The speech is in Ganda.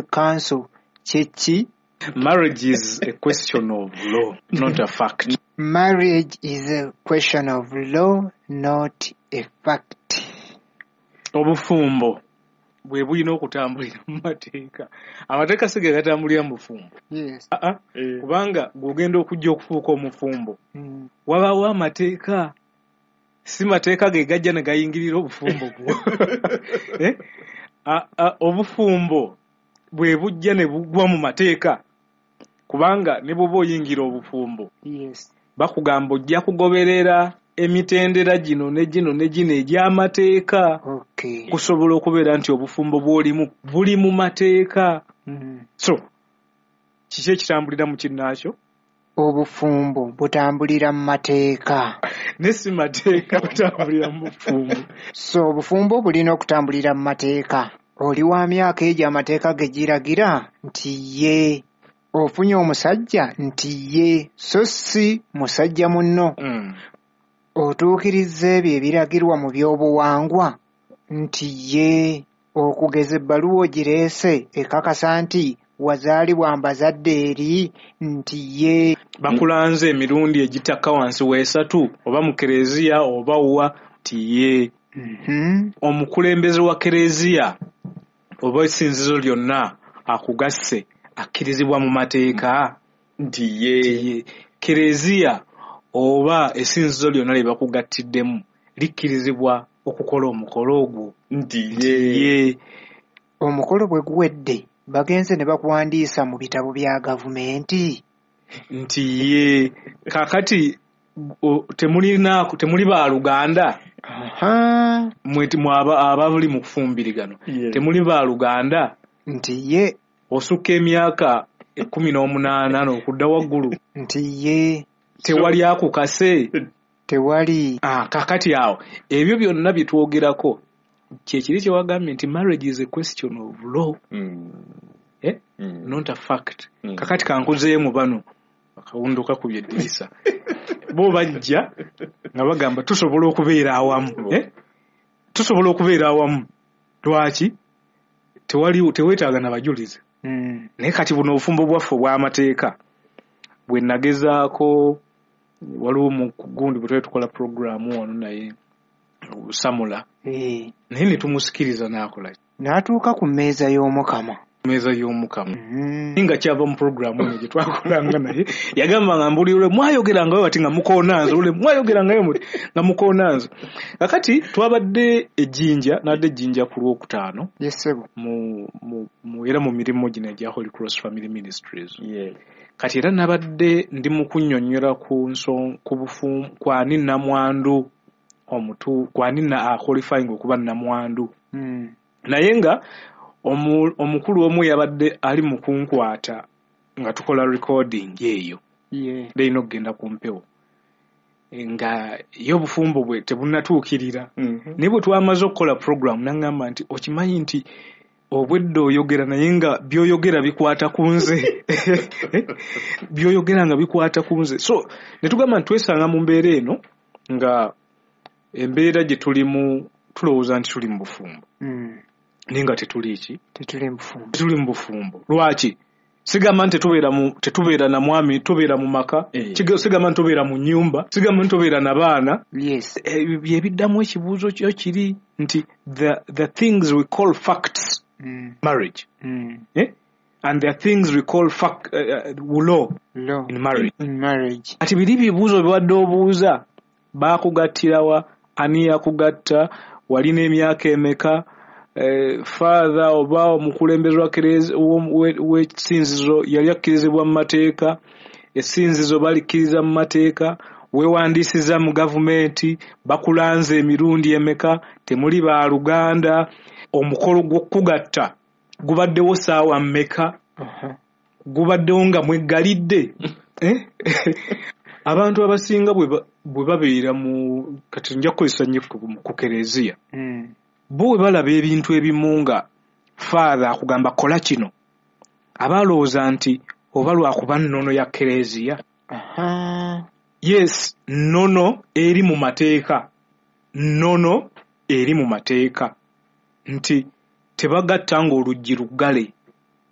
Council kye ki? Marriage is a question of law, not a fact. Marriage is a question of law, not a fact. Obufumbo bwe bulina okutambulira mu mateeka. Amateeka si ge gatambulira mu bufumbo. Yes. Aa, kubanga gw'ogenda okujja okufuuka omufumbo, wabaawo amateeka. Si mateeka ge gajja ne gayingirira obufumbo bwo. Eh? Obufumbo bwe bujja ne bugwa mu mateeka, kubanga ne bw'oba oyingira obufumbo, bakugamba ojja kugoberera emitendera gino ne gino ne gino egy'amateeka kusobola okubeera nti obufumbo bw'olimu buli mu mateeka. So kiki ekitambulira mu kinnaakyo? Obufumbo butambulira mu mateeka. Ne si mateeka butambulira mu bufumbo. So obufumbo bulina okutambulira mu mateeka. Oli wa myaka egyo amateeka ge giragira nti ye ofunye omusajja nti ye, so si musajja munno. Otuukirizza ebyo ebiragirwa mu by'obuwangwa nti ye. Okugeza ebbaluwa ogireese ekakasa nti wazaalibwa mbazadde eri nti ye. Bakulanze emirundi egitakka wansi w'esatu oba mu kereziya oba wa nti ye. Omukulembeze wa kereziya oba essinzizo lyonna akugasse akkirizibwa mu mateeka nti ye. Kereziya oba essinzizo lyonna lye bakugattiddemu likkirizibwa okukola omukolo ogwo nti ye. Omukolo bwe guwedde bagenze ne bakuwandiisa mu bitabo bya gavumenti nti ye. Kaakati temuli baaluganda. Mwe abali mu kufumbirigano temuli baaluganda nti ye. Osukka emyaka 18 n'okudda waggulu nti ye. Tewali akukase. Tewali. Kaakati awo ebyo byonna bye twogerako kye kiri kye wagambye nti marriage is a question of law, not a fact. Kakati kankuzeemu mu bano akawundo kakubye eddirisa. Bo bajja nga bagamba tusobola okubeera awamu. Tusobola okubeera awamu. Lwaki? Tewali, teweetaaga na bajulizi. Naye kati buno obufumbo bwaffe obw'amateeka bwe nagezaako, waliwo mu gundi bwe twali tukola puroguraamu wano naye Samula. Naye ne tumusikiriza n'akola. N'atuuka ku mmeeza y'Omukama. Mmeeza y'Omukama. Nga kyava mu puroguraamu eno gye twakolanga naye, yagamba nga mbuli lwe mwayogerangayo bati nga mukoona nze, lwe mwayogerangayo muti nga mukoona nze. Kakati twabadde e Jinja, n'adde e Jinja ku Lwokutaano. Yes, ssebo. Era mu mirimu gino egya Holy Cross Family Ministries. Kati era nabadde ndi mu kunnyonnyola ku ku bufu-, kwani nnamwandu omutu, kwani na aqualifying okuba nnamwandu. Naye nga omukulu omu yabadde ali mu kunkwata nga tukola recording eyo. Leyina okugenda ku mpewo. Nga ye obufumbo bwe tebunnatuukirira. Naye bwe twamaze okukola program n'aŋŋamba nti okimanyi nti obwedda oyogera naye nga by'oyogera bikwata ku nze. By'oyogera nga bikwata ku nze. So ne tugamba nti twesanga mu mbeera eno nga embeera gye tulimu tulowooza nti tuli mu bufumbo. Naye nga tetuli ki? Tetuli mu bufumbo. Tetuli mu bufumbo. Lwaki? Sigamba nti tetubeera na mwami, tubeera mu maka. Sigamba nti tubeera mu nnyumba, sigamba nti tubeera na baana. Bye biddamu ekibuuzo kyo kiri nti the things we call facts marriage. And the things we call fact, law, Law. in marriage. In marriage. Ati biri bibuuzo bye obuuza, baakugattirawa, ani yakugatta, walina emyaka emeka, father oba omukulembeze wa w'essinzizo yali akkirizibwa mu mateeka, essinzizo balikkiriza mu mateeka, weewandiisiza mu gavumenti, bakulanze emirundi emeka, temuli baaluganda, omukolo gw'okugatta gubaddewo ssaawa mmeka, gubaddewo nga mweggalidde. Abantu abasinga bwe babeera mu, kati nja kukozesa nnyo ku kereziya. Bo bwe balaba ebintu ebimu nga father akugamba kola kino, aba alowooza nti oba lwakuba nnono ya kereziya. Yes, nnono eri mu mateeka. Nnono eri mu mateeka nti tebagatta ng'oluggi luggale.